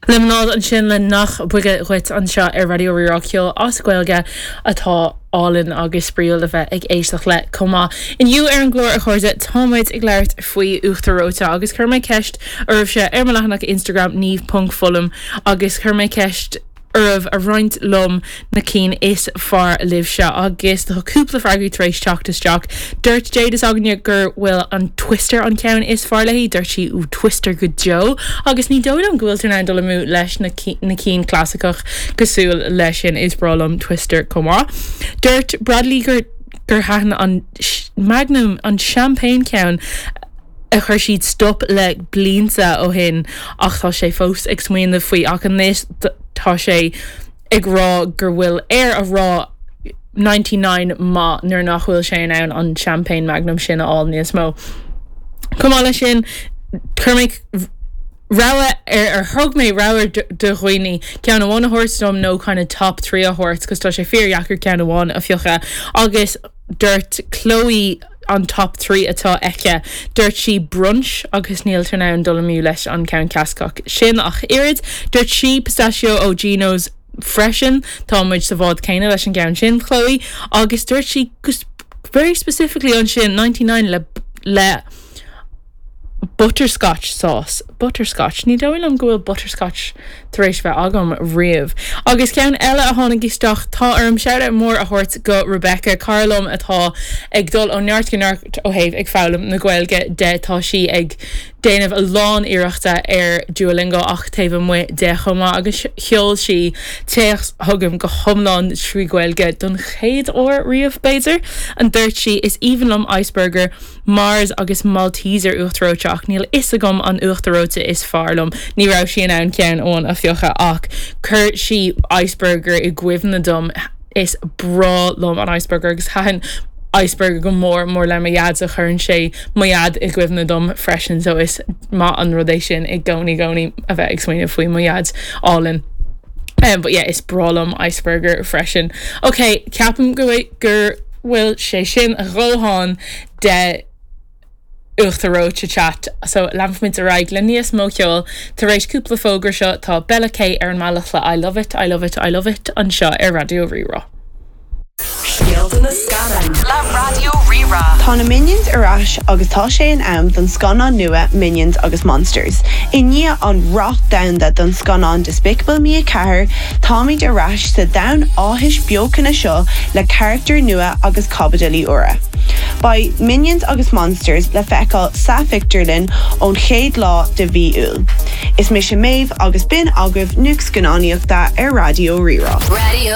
Liomanáid ansin le Nach Boige Dhuit anseo ar Raidió Rí-Rá ceol as Gaeilge atá álainn agus spraíúil le bheith ag éisteacht le chomh maith. Inniu ar an gclár a chairde tá muid ag labhairt faoi uachtar reoite agus chuir mé ceist oraibhse ar mo leathanach Instagram niamh.fullam agus chuir mé ceist oraibh a roinnt liom na cinn is fearr libhse agus tá cúpla freagraí tar éis teacht isteach. Dúirt Jade s'againne gur bhfuil an Twister an ceann is fearr léi, dúirt sí ooh Twister go deo agus ní dóigh liom go bhfuiltear in ann dul amú leis na na cinn clasaiceach cosúil leis sin, is breá liom Twister chomh maith. Dúirt Bradley gur gur thaitin an Magnum an champagne ceann a chuir siad stop le blianta ó shin ach tá sé fós ag smaoineamh faoi ach anois tá sé ag rá gur bhfuil air a rá 99 maith nuair nach bhfuil sé in ann an champagne magnum sin a fháil níos mó. Chomh maith leis sin chuir mé rogha ar ar thug mé rogha do dhaoine ceann amháin a thabhairt dom nó kind of top 3 a thabhairt cos tá sé fíordheacair ceann amháin a phiocadh agus dúirt Chloe an top 3 atá aici. Dúirt sí brunch agus níltear in ann dul amú leis an ceann clasaiceach sin ach oiread. Dúirt sí pistachio ó Gino's freisin. Tá muid sa bhád céanna leis an gceann sin, Chloe. Agus dúirt sí very specifically ansin 99 le le butterscotch sauce. Butterscotch. Ní dóigh liom go bhfuil butterscotch tar éis bheith agam riamh. Agus ceann eile a tháinig isteach, tá orm shout-out mór a thabhairt go Rebecca, cara liom atá ag dul ó neart go neart ó thaobh ag foghlaim na Gaeilge de. Tá sí ag déanamh a lán iarrachta ar Duolingo ach taobh amuigh de chomh maith agus sheol sí téacs chugam go hiomlán trí Ghaeilge don chéad uair riamh, b'fhéidir. An dúirt sí, Is aoibhinn liom Iceburger. Mars agus Malteser uachtar reoite ach níl fhios agam an uachtar reoite is fearr liom. Ní raibh sí in ann ceann amháin a phiocadh ach chuir sí Iceburger i gcuimhne dom. Is breá liom an Iceburger agus thaitin Iceburger go mór mór le mo dhaid so cuireann sé mo dhaid i gcuimhne dom freisin so is maith an rud é sin i gcónaí gcónaí a bheith ag smaoineamh faoi mo dhaid álainn. Um, but yeah, is breá liom Iceburger freisin. Ok, ceapaim go gur bhfuil sé sin a dhóthain de uachtar reoite chat so leanfaimid ar aghaidh le níos mó ceoil tar éis cúpla fógra seo tá Bella K ar an mbealach le I Love It, I Love It, I Love It anseo ar Raidió Rí-Rá. Scéalta na Scannán le Raidió Rí-Rá. Tá na Minions ar ais agus tá sé in am don scannán nua Minions agus Monsters. I ndiaidh an rath domhanda don scannán Despicable Me 4, táimid ar ais sa domhan áthais beochana seo le carachtair nua agus caibidilí úra. Beidh Minions agus Monsters le feiceáil sa phictiúrlann ón chéad lá de mhí Iúil. Is mise Méabh agus b'in agaibh nuacht scannánaíochta ar Raidió Rí-Rá. Raidió.